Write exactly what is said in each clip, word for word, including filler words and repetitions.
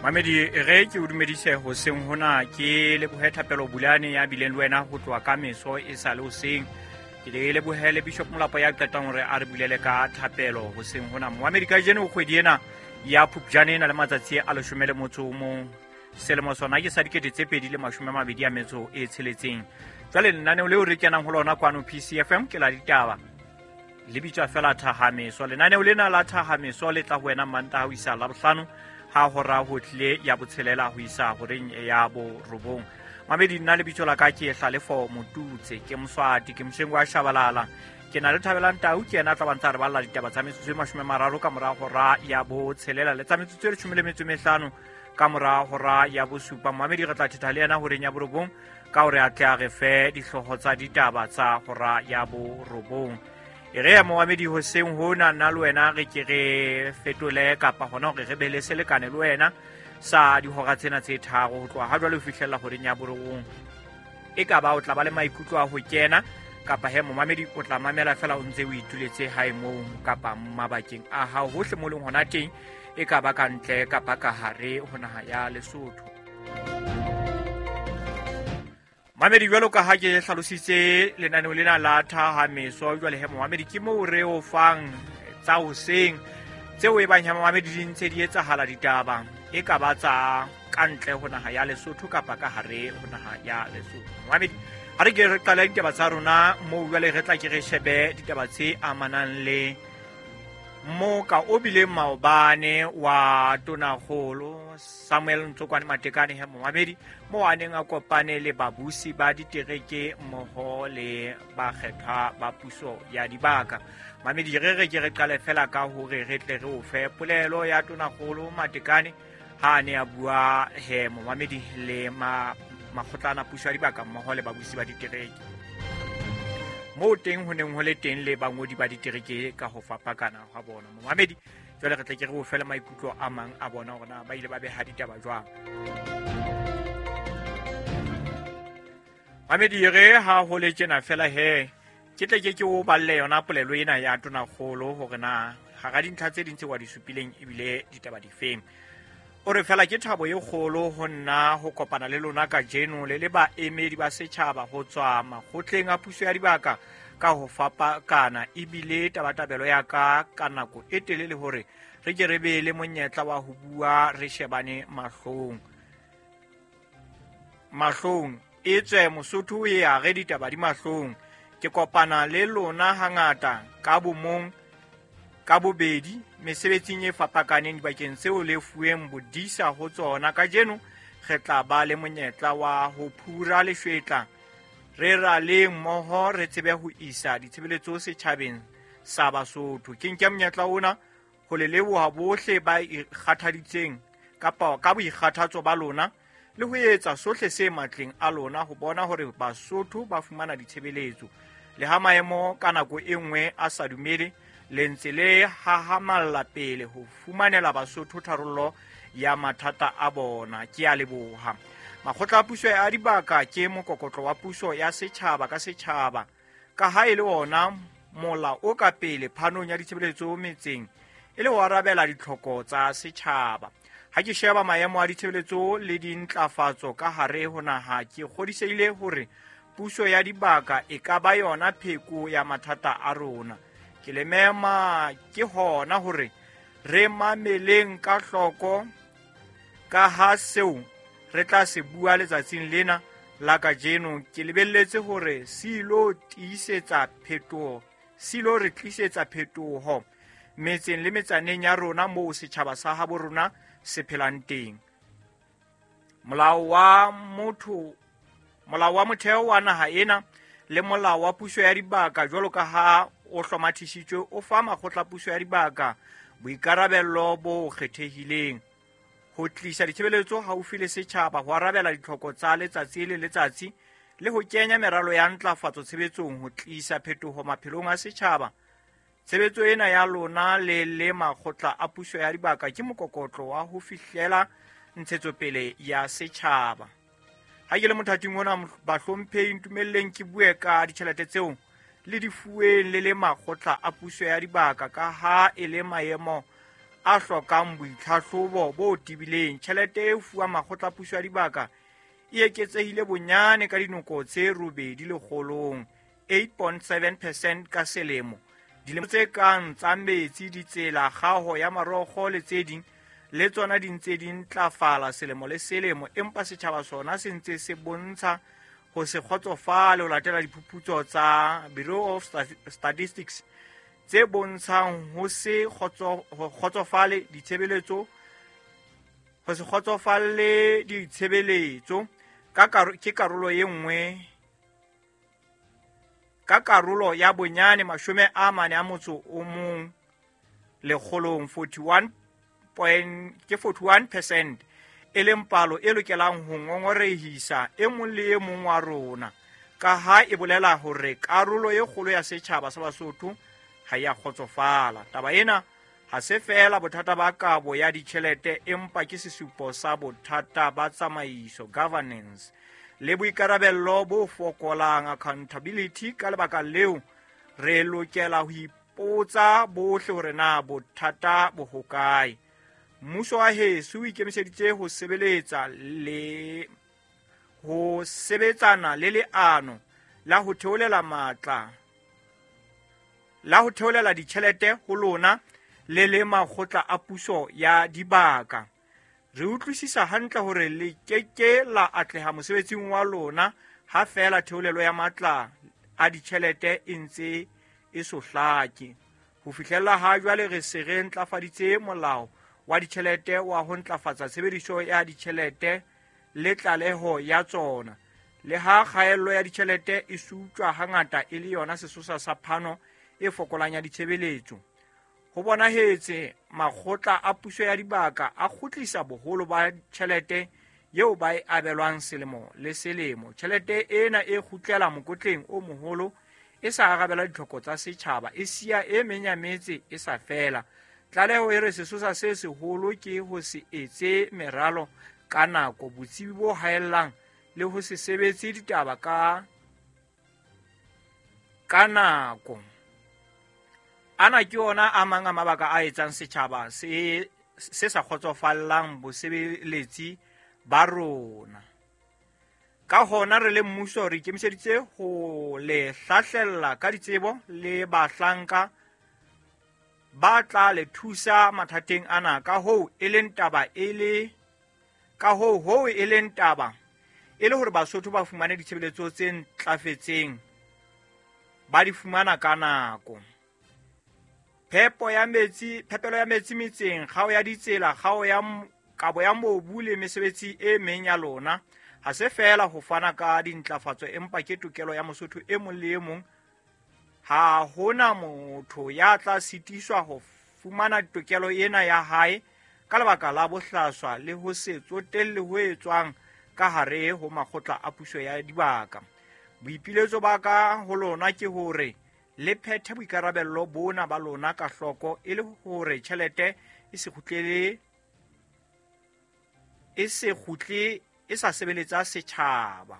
Mamedi re ke o dumedise hoseng hona ke lebohe Thapelo Bulane ya bileng le wena ho tloha ka meso e sa le hoseng. Ke le lebohe le Bishop Molapo ya qetang hore a re bulele ka thapelo hoseng hona. Moamedi kajeno kgwedi ena ya Phupjane ena le matsatsi a leshome le motso o mong. Selemo sona ke sa dikete tse pedi le mashome a mabedi a metso e tsheletseng. Jwale lenaneo leo re kenang ho lona kwano P C F M ke la ditaba. Le bitswa fela Thahameso. Lenaneo lena la Thahameso le tla ho wena Mantaha ho isa Labohlano ha hora ho tlile ya botshelela ho isa horeng ya borobong. Mamedi nna lebitso la ka ke Hlalefo Motutse, ke Moswati, ke Moshengo wa Shabalala. Ke na le Thabelang Tau, ke yena a tla ba ntse a re balla ditaba tsa metsotso e mashome a mararo ka mora hora ya botshelela le tsa metsotso e leshome le metso e mehlano ka mora hora ya bosupa. Mamedi re tla thetha le yena horeng ya borobong ka hore a tle a re fe dihlooho tsa ditaba tsa hora ya borobong. E re ya moamedi hoseng hona nna le wena re ke re fetole kapa hona hore re be le selekane le wena sa dihora tsena tse tharo ho tloha ha jwale ho fihlella horeng ya borobong. E ka ba o tla ba le maikutlo a ho kena kapa he momamedi o tla mamela fela o ntse o ituletse hae moo kapa mabakeng a hao hohle mo leng hona teng, e ka ba ka ntle kapa ka hare ho naha ya Lesotho. Mamedi jwalo ka ha ke hlalositse lenaneo lena la Thahameso, jwale he momamedi ke moo re o fang tsa hoseng tseo e bang he momamedi di ntse di etsahala ditaba e ka ba tsa ka ntle ho naha ya Lesotho kapa ka hare ho naha ya Lesotho. Momamedi ha re ke re qale ditaba tsa rona moo jwale re tla ke re shebe ditaba tse amanang le moka o bileng maobane wa Tonakgolo Samuel Ntsokwane Matekane he momamedi mo a neng a kopane le babusi ba ditereke mmoho le bakgethwa ba puso ya dibaka. Mamedi re re ke re qale fela ka hore re tle re o fe polelo ya Tonakgolo Matekane ha a ne a bua he momamedi le ma makgotlana puso ya dibaka mmoho le babusi ba ditereke. Moo teng ho neng ho le teng le bangodi ba ditereke ka ho fapakana ha bona. Momamedi jwale re tle ke re o fele maikutlo a mang a bona hore na ba ile ba beha ditaba jwang. Mamedi re ha ho le tjena fela he ke tle ke ke o balle yona polelo ena ya Tonakgolo hore na hara dintlha tse ding tse wa di supileng ebile ditaba difeng. O re fela ke thabo e kgolo ho nna ho kopana le lona kajeno le le baemedi ba setjhaba ho tswa makgotleng a puso ya dibaka ka ho fapakana, ebile tabatabelo ya ka ka nako e telele hore re ke re be le monyetla wa ho bua re shebane mahlong. Mahlong e tswe Mosotho e a re ditaba di mahlong. Ke kopana le lona hangata ka bomong ka bobedi mesebetsing e fapakaneng dibakeng tseo le fuweng bodisa ho tsona. Kajeno re tla ba le monyetla wa ho phura leshwetla re raleng mmoho re tsebe ho isa ditshebeletso setjhabeng sa Basotho. Ke nke monyetla ona ho le leboha bohle ba ikgathaditseng kapa ka boikgathatso ba lona le ho etsa sohle se matleng a lona ho bona hore Basotho ba fumana ditshebeletso. Le ha maemo ka nako e nngwe a sa dumele, le ntse le hahamalla pele ho fumanela Basotho tharollo ya mathata a bona. Ke a leboha. Makgotla a puso ya dibaka ke mokokotlo wa puso ya setjhaba ka setjhaba, ka ha e le ona mola o ka pele phanong ya ditshebeletso metseng e le ho arabela ditlhoko tsa setjhaba. Ha ke sheba maemo a ditshebeletso le dintlafatso ka hare ho naha, ke kgodisehile hore puso ya dibaka e ka ba yona pheko ya mathata a rona. Ke le mema ke hona hore re mameleng ka hloko ka ha seo re tla se bua letsatsing lena la kajeno. Ke lebelletse hore se ilo tiisetsa phetoho, se ilo re tlisetsa phetoho metseng le metsaneng ya rona moo setjhaba sa habo rona se phelang teng. Molao wa motho, molao wa motheo wa naha ena le molao wa puso ya dibaka jwalo ka ha o hlomathisitswe o fa makgotla puso ya dibaka boikarabello bo kgethehileng ho tlisa ditshebeletso haufi le setjhaba, ho arabela ditlhoko tsa letsatsi le letsatsi le ho kenya meralo ya ntlafatso tshebetsong ho tlisa phetoho maphelong a setjhaba. Tshebetso ena ya lona le le makgotla a puso ya dibaka ke mokokotlo wa ho fihlela ntshetsopele ya setjhaba. Ha ke le mothating ona bahlomphehi, ntumelleng ke bue ka ditjhelete tseo le di fuweng le le makgotla a puso ya dibaka ka ha e le maemo a hlokang boitlhahlobo bo tebileng. Tjhelete e fuwang makgotla a puso ya dibaka e eketsehile bonyane ka dinoko tse robedi lekgolong, eight point seven percent ka selemo. Dilemo tse kang tsa metsi, ditsela, kgaho ya marokgo le tse ding le tsona di ntse di ntlafala selemo le selemo, empa setjhaba sona se ntse se bontsha ho se kgotsofale ho latela diphuputso tsa Bureau of Statistics tse bontshang ho se kgotsofale ditshebeletso, ho se kgotsofalle ditshebeletso ka ke karolo e nngwe ka karolo ya bonyane mashome a mane a motso o mong lekgolong, forty-one point ke forty-one percent, e leng palo e lokelang ho ngongorehisa e mong le e mong wa rona, ka ha e bolela hore karolo e kgolo ya setjhaba sa Basotho ha ya kgotsofala. Taba ena ha se feela bothata ba kabo ya ditjhelete, empa ke sesupo sa bothata ba tsamaiso, governance, le boikarabello bo fokolang, accountability. Ka lebaka leo re lokela ho ipotsa bohle hore na bothata bo hokae. Mmuso wa heso o ikemiseditse ho sebeletsa le ho sebetsana le leano la ho theolela matla la ho theolela ditjhelete ho lona le le makgotla a puso ya dibaka. Re utlwisisa hantle hore le keke la atleha mosebetsing wa lona ha feela theolelo ya matla a ditjhelete e ntse e so hlake. Ho fihlella ha jwale re se re ntlafaditse molao wa ditjhelete wa ho ntlafatsa tshebediso ya ditjhelete le tlaleho ya tsona. Le ha kgaello ya ditjhelete e sutjwa hangata e le yona sesosa sa phano e fokolang ya ditshebeletso, ho bonahetse makgotla a puso ya dibaka a kgutlisa boholo ba tjhelete eo ba e abelwang selemo le selemo. Tjhelete ena e kgutlela mokotleng o moholo e sa arabela ditlhoko tsa setjhaba, e siya e meng ya metse e sa fela. Tlaleho e re sesosa se seholo ke ho se etse meralo ka nako, botsebi bo haellang le ho se sebetse ditaba ka ka nako. Ana ke ona a mang a mabaka a etsang setjhaba se se sa kgotsofallang bosebeletsi ba rona. Ka hona re le mmuso re ikemiseditse ho le hlahlella ka ditsebo le bahlanka ba tla le thusa mathateng ana. Ka hoo e leng taba e le ka hoo hoo e leng taba e le hore Basotho ba fumane ditshebeletso tse ntlafetseng, ba di fumana ka nako. Phepo ya metsi, phepelo ya metsi metseng, kgao ya ditsela, kgao ya kabo ya mobu le mesebetsi e meng ya lona ha se feela ho fana ka dintlafatso, empa ke tokelo ya Mosotho e mong le e mong. Ha hona motho ya tla sitiswa ho fumana tokelo ena ya hae ka lebaka la bohlaswa le ho se tsotelle ho etswang ka hare ho makgotla a puso ya dibaka. Boipiletso ba ka ho lona ke hore le phethe boikarabello bona ba lona ka hloko, e le hore tjhelete e se kgutlele e se kgutle e sa sebeletsa setjhaba.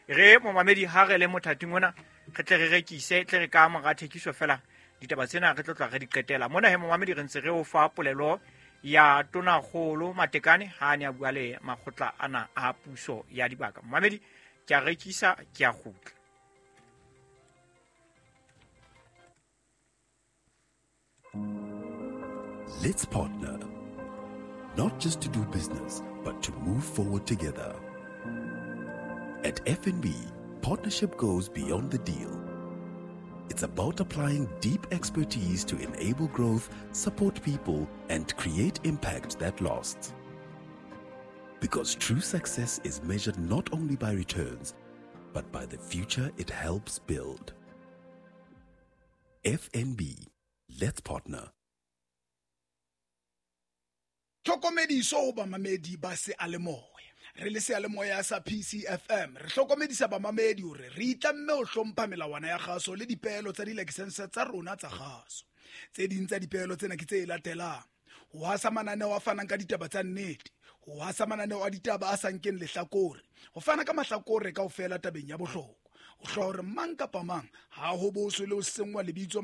Re momamedi ha re le mothating ona re tle re rekise, tle re ka mora thekiso fela ditaba tsena re tlo tla re di qetela mona. He momamedi re ntse re o fa polelo ya Tonakgolo Matekane ha a ne a bua le makgotla ana a puso ya dibaka. Momamedi ke a rekisa, ke a kgutla. Let's partner, not just to do business, but to move forward together. At F N B, partnership goes beyond the deal. It's about applying deep expertise to enable growth, support people, and create impact that lasts. Because true success is measured not only by returns, but by the future it helps build. F N B, let's partner. Tlhokomediso ho bamamedi ba seyalemoya. Re le seyalemoya sa P C F M re hlokomedisa bamamedi hore re itlamme ho hlompha melawana ya kgaso le dipeelo tsa dilaesense tsa rona tsa kgaso. Tse ding tsa dipeelo tsena ke tse latelang: ho hasa mananeo a fanang ka ditaba tsa nnete, ho hasa mananeo a ditaba a sa nkeng lehlakore, ho fana ka mahlakore kaofela tabeng ya bohlokwa, ho hloka hore mang kapa mang ha ho boswe le ho senngwa lebitso